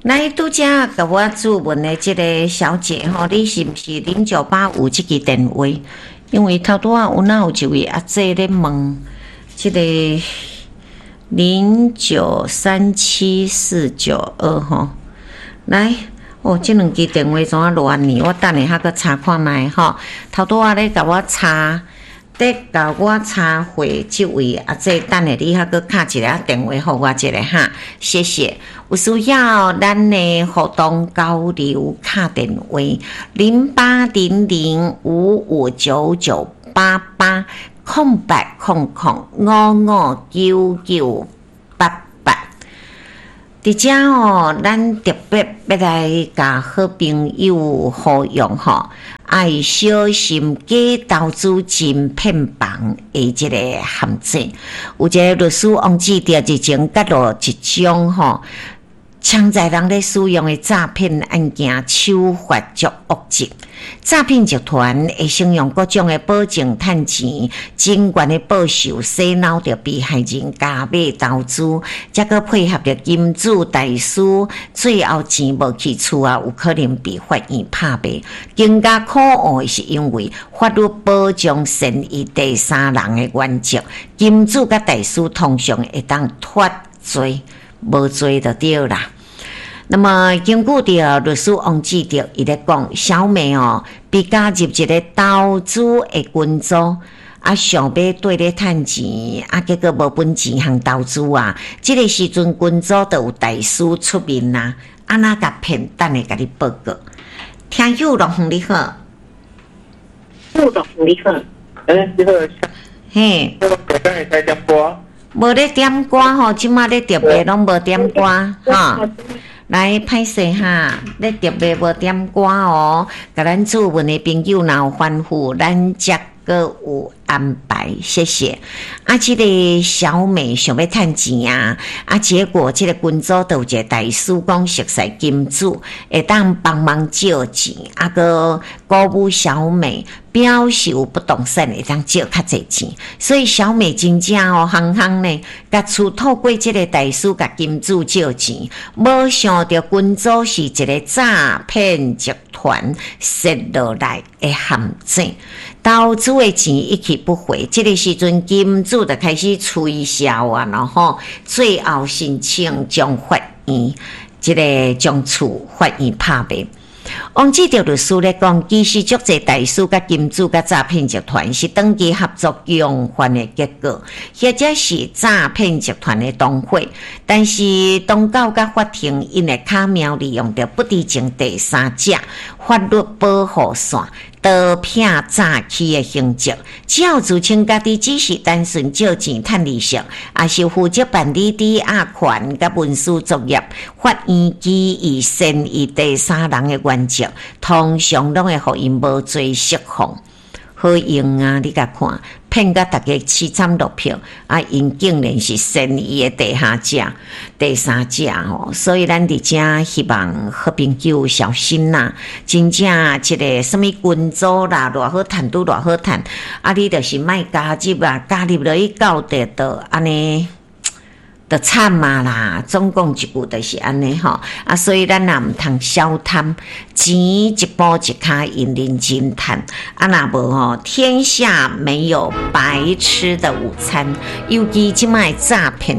來，拄才共我諮問的這个小姐吼，你是毋是0985這支電話？因為頭拄仔有哪有一位阿姐咧問這个0937492吼，來，哦，這兩支電話怎啊亂呢？我等下還閣查看覓吼。頭拄仔咧共我查，咧共我查回這位阿姐，等下你還閣敲一个電話予我一下哈，謝謝。有需要咱的互動交流，敲電話08005599880800559988。佇遮哦，咱特別欲來共好朋友呼籲吼，愛小心假投資真騙房的這个陷阱。有一个律師王志德日前揭露一種吼，潛在人咧使用的詐騙案件手法足惡質，詐騙集團會先用各種的保證趁錢、真懸的報酬洗腦著被害人加碼投資，才閣配合著金主大師，最後錢無去厝啊，有可能被法院拍賣。更加可惡的是，因為法律保障善意第三人的原則，金主佮大師通常會當脫罪，無罪就對啦。那麼根據著律師王志德伊咧講，小美哦被加入一个投資的群組，啊想欲綴咧趁錢，啊結果無本錢通投資啊。這个時陣群組就有大師出面啊，按怎共騙？等下共你報告。聽友樂園你好，樂園你好，欸，你好，嘿，我會使點歌？無咧點歌吼，這馬咧特別攏無點歌哈。來，歹勢哈，咧特別無點歌哦。共咱諮問的朋友若有吩咐，咱才閣有安排，謝謝。啊，這个小美想欲趁錢啊，啊，結果這个群組就有一个大師講熟似金主，會當幫忙借錢，啊，閣鼓舞小美，表示有不動產會當借較濟錢，所以小美真正哦，夯夯呢，共厝透過這个大師共金主借錢，無想著群組是一个詐騙集團設落來的陷阱，投資的錢一去不回，這个時陣金主就開始推銷啊，然後最後申請將法院，這个將厝法院拍賣。王志德律師咧講，其實足濟大師佮金主佮詐騙集團是長期合作共犯的結果，或者是詐騙集團的同伙，但是當局佮法庭𪜶會巧妙利用著不知情第三者法律保護傘，逃避詐欺的刑責。只要自稱家己只是單純借錢趁利息，抑是負責辦理抵押權佮文書作業，法院基於善意第三人的原則，通常攏會予𪜶無罪釋放。好用啊！你共看，騙甲逐家淒慘落魄，啊！𪜶竟然是善意的地下者、第三者吼，所以咱佇遮希望好朋友小心啦！真正這个啥物群組啦，偌好趁拄偌好趁，啊！你就是莫加入啊，加入落去到底就按呢。就慘啊啦！總共一句就是按呢吼，啊，所以咱也毋通小貪錢，一步一跤印認真趁，啊，若無吼，天下沒有白吃的午餐，尤其這擺詐騙。